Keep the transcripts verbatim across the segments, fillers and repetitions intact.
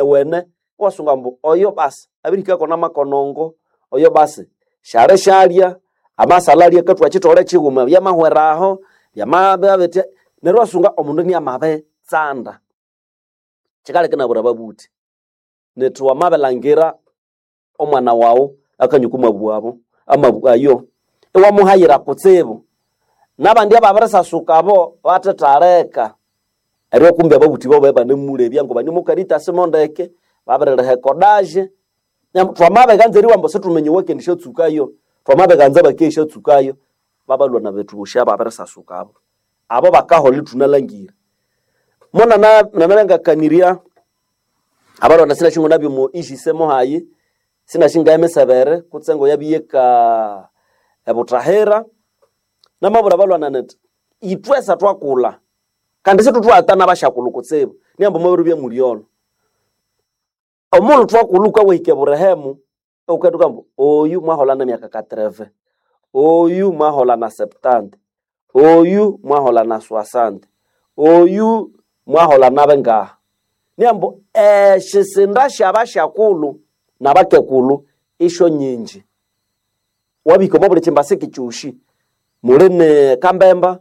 owene-wene iwasunga ambu oyo basi abirihikako namakonongo oyo basi syali syalya amasala alya akathwa kithole kighuma byamahweraho byamabya bitya neryo iwasunga omundu iniamabitsanda. Kyikaleka inabwira ababuthi nithi wamabilangira omwana waghu akanywa okwa mabu abo amabu ayo iwamuhayira kutsibu nabandi ababirisasuka abo bathethaleka eryo kumbi ababuthi babo ibanemulebya ngo banemukaritasi mondeke babiririha ekodage twamabiganza eriwa ambu sithuminya owakendisyatsukayo twamabiganza bakendisyatsukayo babalhwa bethu bosi ababirisasuka abo abo bakaholha ithunalhangira monana nanabangakanirya abalwana sinashingo nabyo mu ijise muhayi sinashinga emisebere kutse ngo yabiyeka ebuthahira namabwira abalwana nithi ithwesa thwakulha kandi sithuthuwatana abasyakulhu kutsibu niambu mwabiribya mulyolho omulhu thwakulha wukawahika eburehemu iwukathuka ambu oyu mwaholha nemyaka katreve oyu mwaholha na septante oyu mwaholha na soixante oyu mwaholha nabingaha niambu esyisinda syabasyakulhu nabakekulhu isyo nyingi wabihika omwa buli kyimbasiki kyosi muli ne kambemba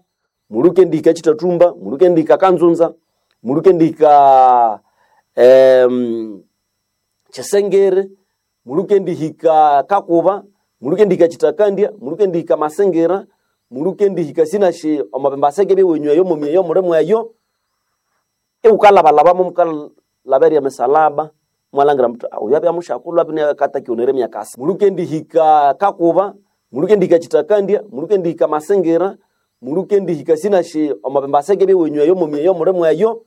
muli wukendihika kyithathumba muli wukendihika kanzunza muli wukendihika em, kyisengere muli wukendihika kakuba muli wukendihika kyithakandya muli wukendihika masingira muli wukendihika sinasi omo bimbasiki biwenyu eyo mumi eyo muli mweyo iwukalhabalhabamu mukalhaberya emisalaba imwalhangira muthi oyu abya musyakulhu abya akatakionere emyaka asa muli wukendihika kakuba muli wukendihika kyithakandya muli wukendihika masingira muli wukendihika sinasi omo bimbasiki biwenyu eyo mumi eyo muli mweyo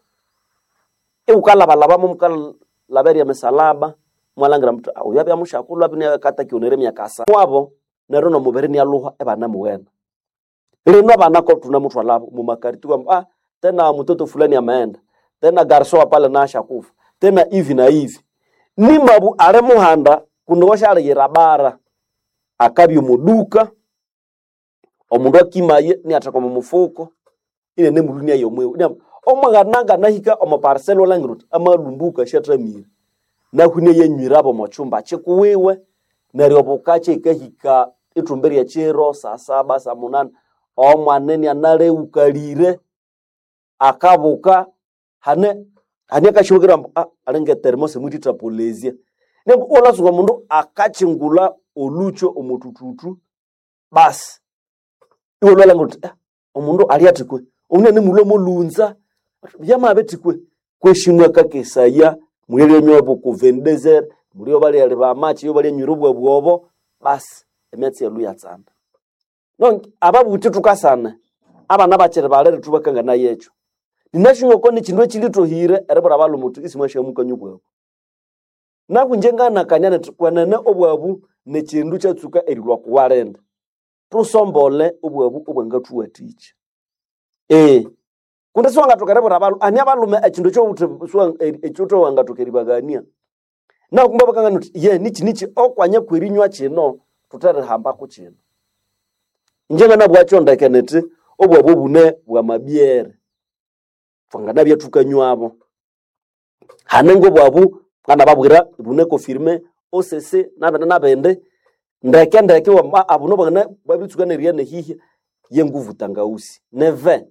iwukalhabalhabamu mukalhaberya emisalaba imwalhangira muthi oyu abya musyakulhu abya akatakionere emyaka asa wabo neryo nomubiri inalhuha ibanamughenda lino abana ko tunamuthwalabo mumakariti kwamba ah tena mtoto fulani ameenda tena garso wa pale na ashakufa tena hivi na hivi nimabu ali muhanda kundi washaliyira bara akabya omuduka omundu akimaye niatheka omu mufuko inene mulhu yomwiwe omwana nganahika omu parcel walhangira uthi amalumbuka syathamire nahu inyayanywirabo omo kyumba kikuwiwe neryo bukakya ikahika ithumbi lyekiro saa saba saa munani omwana inianalewukalire akabuka hane hane akashibukira ambu ah, alinga etermosi mwithithapolizya nembu iwalhasuka omundu akakyingulha olhukyo omutututu basi iwalhwalhangira uthi ah, omundu alyathi kwe omundu animulhwa molhunza byamabithikwe kweshi mwakakesaya mulyalyanyowa buku vendezer mulyo balyaleba amachi yo balyanywira obwabu obo basi emyatsi yalhu yatsanda donc ababuthi thukasana abana bakiri balere thubakanganaye ekyo ninashingoko nikindu ekilithohire eribwira abalhume uthi isimwashamukania obwabu naku inje nganakania nithi kwenene obwabu nikindu kyatsuka erilhwa kuwalinda thusombole obwabu obwangathuwathikya ee kundi siwangathoka eribwira abalhume ani abalhume ekindu ekyobuthi ekyowangathoka eribaghania nakumba bakangana uthi ye niki niki okwanya kwerinywa kino thuterihambako kino inje nganabwakyo ndeke nithi obwabu obune bwamabyere thwanganabya thukanywabo hane ngobwabu nganababwira bune confirme osese nabindi nabindi ndeke ndeke wama abuno bangana babitsuka neria nehihya yenguvu tangausi neve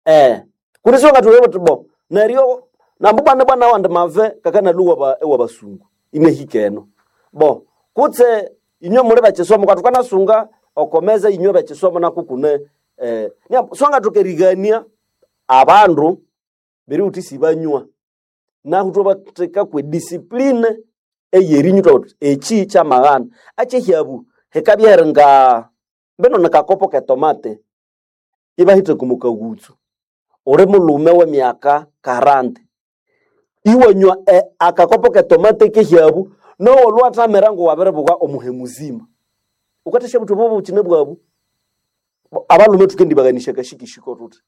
eh kundi siwangathoka buthi bo neryo nambu bwana bwana wandi mave kakanaluwa ba ewa basungu inehikeno bo kutse inywe muli bekisomo kathukanasunga okomeza inywe bekisomo nakukune eh siwangathoka erigania abandu beri uthi sibanywa nahu thwabatheka kwe discipline eyerinywa thwabathi eki kyamaghana akyehyabu hikabya heringa mbino nikakopo ketomate ibahitha kumukaghutsu uli mulhume wemyaka karandi iwanywa e, akakopo ketomate kehyabu nowolhwathamira ngowabiribuka omuhe muzima wukathasya buthi obo bukine bwabu abalhume thukendibaghanisya akashikishiko thuthi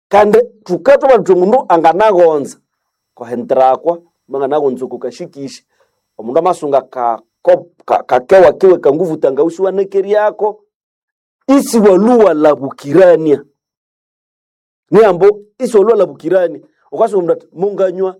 kandi thukathoba thuthi omundu anganaghonza kohenterakwa manganaghonza oko kashikishi omundu amasunga kakewa kiwe kanguvu tangausi wanekeryako isiwalhuwalabukirania niambo isiwalhuwalabukirania ukasunga omundu athi munganywa